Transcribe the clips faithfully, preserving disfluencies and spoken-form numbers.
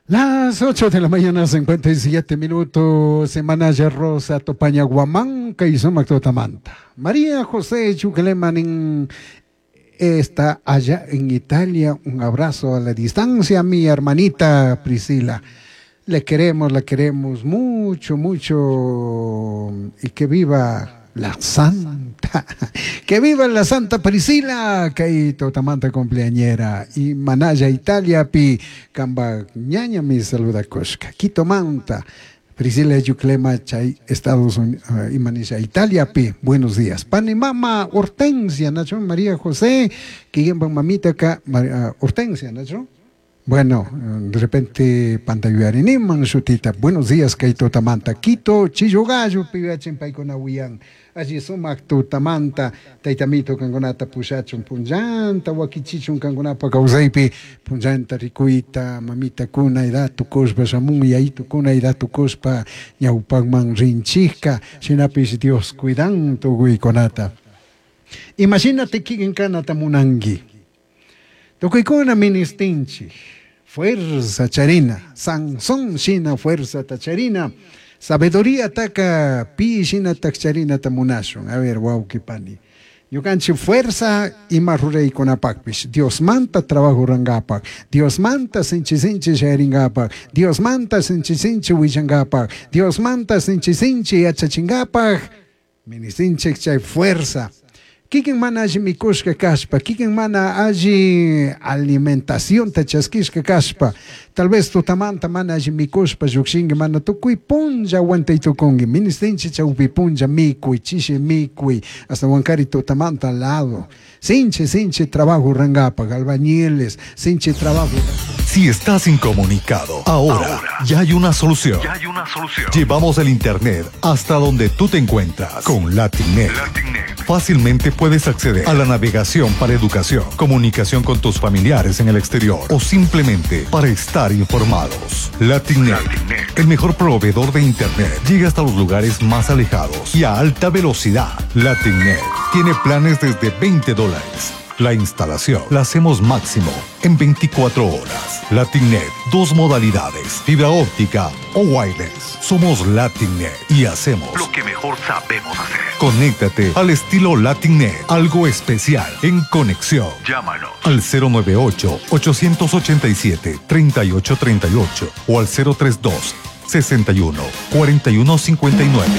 Las ocho de la mañana, cincuenta y siete minutos, Semana Rosa, Topaña, Guamanca y Totamanta. María José Chuclemanin está allá en Italia. Un abrazo a la distancia, mi hermanita Priscila. Le queremos, la queremos mucho, mucho. Y que viva la Santa. Que viva la Santa Priscila, kay tutamanta cumpleañera. Y Manaya Italia pi kamba ñañami saludacushka. Quito manta. Priscila Yuclema chay Estados Unidos, uh, Imanisha Italia pi. Buenos días. Pani mama Hortensia, Nacho María José, que mamita ka uh, Hortensia, Nacho. Bueno, de repente pantayuariniman shutita. Buenos días, kay tutamanta. Quito, Chillogallo, pibachin paykuna wiyan. Allí sumak tutamanta, taytamito kankunata pushachun punllanta, wakichichun kankunapa kawsaypi, punllanta rikuyta, mamita kuna edad tukushpa shamun, yayitu kuna edad tukushpa ñawpakman rinchikka, shinapish Dios cuidan tukuykunata. Imagínate kikin kanata munanki. Tukuykuna ministinchik fuerza charina, Sansón shina fuerza tacharina, sabiduría taka pi shina takcharina tamunashun. A ver, wawki pani. Ñukanchik fuerza ima ruraykunapakpish, Dios manta trabajo rangapak, Dios manta sinchi sinchi shayaringapak, Dios manta sinchi sinchi willangapak, Dios manta sinchi sinchi yachachingapak, ministinchik chay fuerza. Kikin mana alli mikushka kashpa, kikin mana alli alimentación chaskishka kashpa, tal vez tutamanta mana alli mikushpa llukshinki mana tukuy punlla aguantay tukunki, ministinchi chawpi punlla mikuy, chishi mikuy, hasta wankari tutamanta lado. Sinchi, sinchi trabajo rangapak, albañiles, sinchi trabajo. Si estás incomunicado, ahora, ya hay una solución. Ya hay una solución. Llevamos el internet hasta donde tú te encuentras con LatinNet. LatinNet. Fácilmente puedes acceder a la navegación para educación, comunicación con tus familiares en el exterior o simplemente para estar informados. LatinNet, LatinNet. El mejor proveedor de internet, llega hasta los lugares más alejados y a alta velocidad. LatinNet tiene planes desde veinte dólares. La instalación la hacemos máximo en veinticuatro horas. LatinNet, dos modalidades, fibra óptica o wireless. Somos LatinNet y hacemos lo que mejor sabemos hacer. Conéctate al estilo LatinNet, algo especial en conexión. Llámanos al cero nueve ocho, ochocientos ochenta y siete, treinta y ocho treinta y ocho o al cero tres dos, sesenta y uno, cuarenta y uno cincuenta y nueve.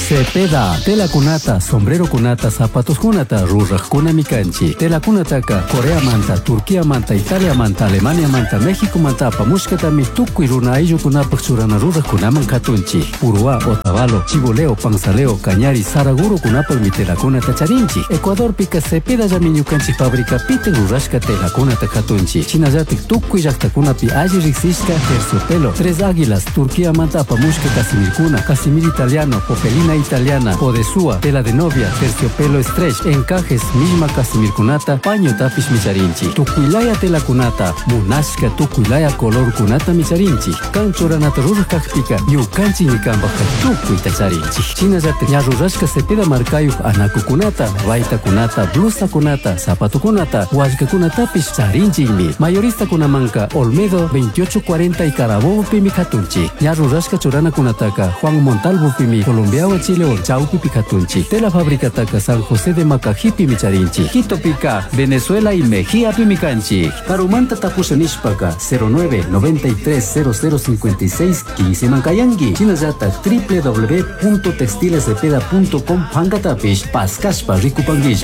Cepeda, tela kunata, sombrero kunata, zapatos kunata, rurajkunami kanchik. Tela kunataka, Corea manta, Turquía manta, Italia manta, Alemania manta, México manta, apamushkatami tukuy runa ayllukunapaj churana rurajkunaman katunchik. Puruhá, Otavalo, Chibuleo, Panzaleo, Cañari, Saraguro kunapajmi telakunata charinchik. Ecuadorpika Cepeda llami ñukanchik fábrica pitik rurashka telakunata katunchik. Shinallatik tukuy llaktakunapi alli riksishka terciopelo, Tres Águilas, Turquía manta apamushka casimirkuna, casimir italiano, popelina italiana, podesúa, tela de novia, terciopelo stretch, encajes, misma casimirkunata, paño tapish micharinchik. Tukuylaya telakunata, munashka tukuylaya color kunata micharinchik. Kan churanata ruraj kakpika, ñukanchik ñikanpajka tukuyta charinchik. Shinallatik ña rurashka Cepeda markayuj anakukunata, baytakunata, blusakunata, zapatokunata, wallkakunatapish charinchikmi. Mayoristakunamanka Olmedo veintiocho cuarenta y Carabobo pimi katunchik. Ña rurashka churanakunataka Juan Montalvo pimi Colombiawan Chilewan chawpipi katunchik. Tela fabricataka San José de Macajipi charinchik. Quitopika, Venezuela y Mejía pimi kanchik. Karumanta tapusha nishpaka cero nueve noventa y tres cero cero cincuenta y seis quince man kayanki. Shinallatak w w w punto textilescepeda punto com pankatapish paskashpa rikupanguilla.